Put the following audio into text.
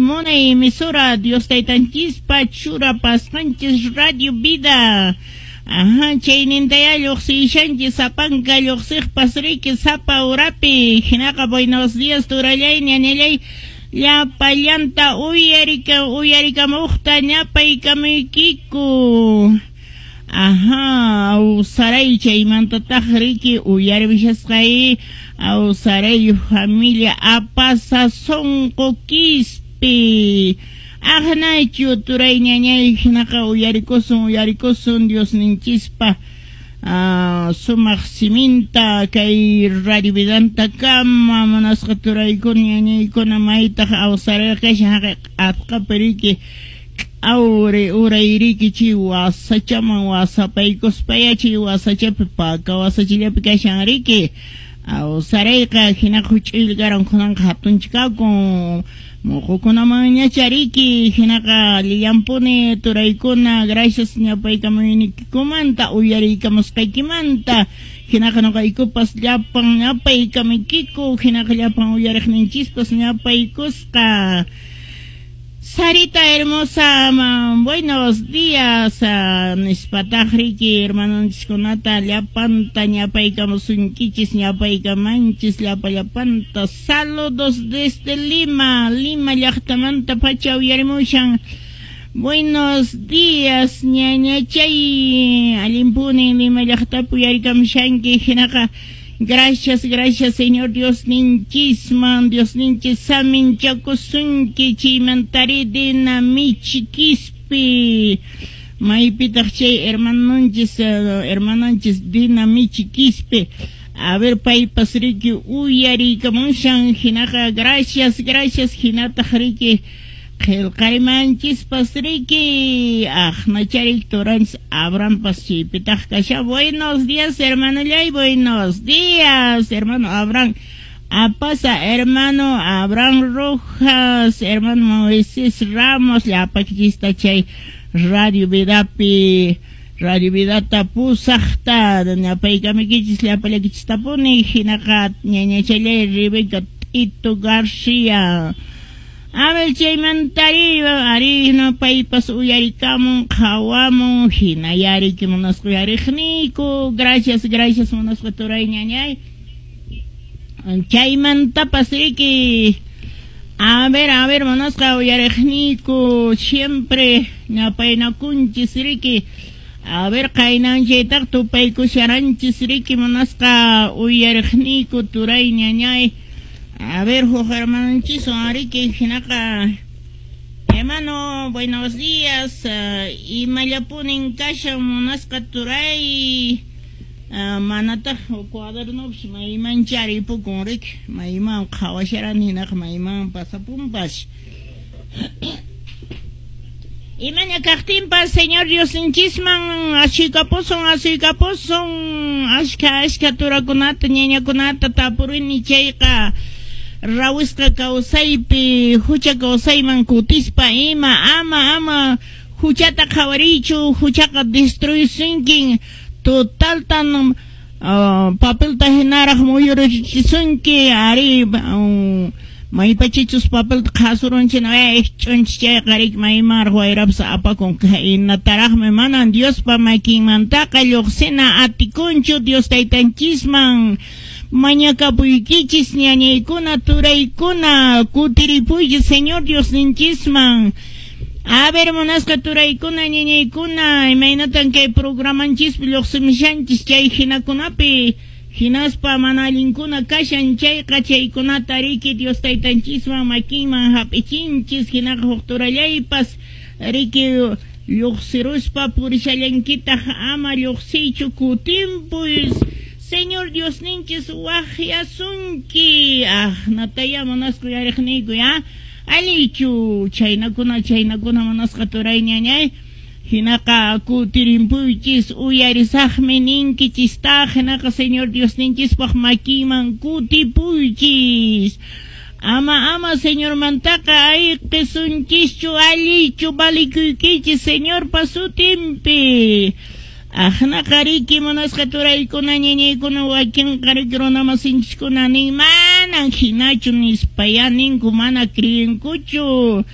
Munay emisora Dios taytanchispa churapasqanchis Radio Vida. Ajá, chaynintayá lluqsishanchis sapanka lluqsiqpas riki sapa urapi. Hinaqa buenos días turallay, ñañallay, llapallanta uyarika uyarikamuqta ñapaykamuykiku. Ajá, awsaray chaymantataq riki uyarishasqay awsaray familia apasa sunqu Quispe. Aqnachu turay, ñañay, hinaqa uyarikusun, uyarikusun Diosninchispa sumaq siminta kay Radio Vidanta kama, munasqa turaykuna, ñañaykuna. Maytaq awsarayqa kashan? Haqay q'atqapi riki, awri urayriki, chay wasachaman wasapaykuspaya, chay wasachapi, paka wasachallapi kashan riki awsarayqa. Hinaqa huch'uylla karan, kunanqa hatuncha kakun, muqukunamanñacha riki. Hinaqa llillampuni turaykuna, gracias ñapaykamuynikikumanta, uyariykamusqaykimanta. Hinaqa ñuqaykupas llapan ñapaykamuykiku, hinaqa llapan uyariqninchispas ñapaykusqa. Sarita hermosa, buenos días, nispataq riki hermanonchiskunata llapanta ñapaykamusunkichis, ñapaykamanchis llapa llapanta. Saludos desde Lima, Lima llaqtamanta pacha uyarimushan. Buenos días, ñañachay, allinpuni Lima llaqtapi uyarikamushanki. Hinaqa gracias, gracias Señor Dios ninchisman, Dios ninchis saminchakusunki. Chaymantari Dina Michi Quispe, maypitaq chay hermanonchis, hermanonchis Dina Michi Quispe? A ver, paypas riki uyariykamushan. Hinaqa gracias, gracias. Hinataq riki qillqarimanchispas riki aqnacharik turanchis Abrahampas chaypitaq kashan. Buenos días, hermanollay, buenos días, hermano Abraham Apasa, hermano Abraham Rojas, hermano Moisés Ramos, llapakichista chay Radio Vidapi, Radio Vidata pusaqta ñapaykamuykichis llapallakichistapuni. Hinaqa ñañachallay Rebeca Tito García. A ver, chaymantari ari no paypas uyarikamun, qhawamun, hinaya riki munasqa uyariqniyku. Gracias, gracias, munasqa turay, ñañay. Chaymantapas riki, a ver, munasqa uyariqniyku, siempre ñapaynakunchis riki. A ver, qaynanchaytaq tupaykusharanchis riki, munasqa uyariqniyku turay, ñañay. A ver, huk hermanonchiswan riki. Hinaqa, hermano, buenos días, imallapunin kashan, munasqa turay? Manataq cuadernopish mayman charipukun riki, mayman qhawasharani, hinaqa mayman pasapunpas. Imaña kaqtinpas Señor Diosninchisman asuykapusun, asuykapusun. Ashka ashka turakunata, ñañakunata tapurini chayqa, rawisqa kawsaypi hucha kawsayman kutispa ima, ama ama huchata qhawariychu, huchaqa destruisunkin totaltan, papelta hinaraq muyurichisunki ari. Maypachichus papelta qhasurunchik, ch'unchis chayqa riki maymanraq wayrapas apakun, inataraqmi manan Diospa makinmantaqa lluqsina atikunchu. Dios taytanchisman mañakapuykichis, ñañaykuna, turaykuna, kutiripuychis Señor Diosninchisman. A ver, munasqa turaykuna, ñañaykuna, imaynatan kay programanchispi lluqsimushanchis chay hinakunapi, hinaspa mana allinkuna kashan chayqa, chaykunata riki Dios taytanchisman makinman hap'ichinchis. Hinaqa huk turallaypas riki lluqsiruspa purishallankitaq, ama lluqsiychu, kutimpuy, Señor Diosninchis waqyasunki. Aqnataya, munasqa uyariqniyku, ya allichu chaynakuna, chaynakuna, munasqa turay, ñañay? Hinaqa kutirimpuychis, uyarisaqmi ninkichistaq. Hinaqa Señor Diosninchispaq makinman kutipuychis, ama ama Señormantaqa ayqisunchischu, allichu valikuykichis Señorpa sutinpi. Aqnaqa riki, munasqa turaykuna, ñañaykuna, wakinqa riki runamasinchiskuna nin manan hinachu nispaya ninku, mana creenkuchu.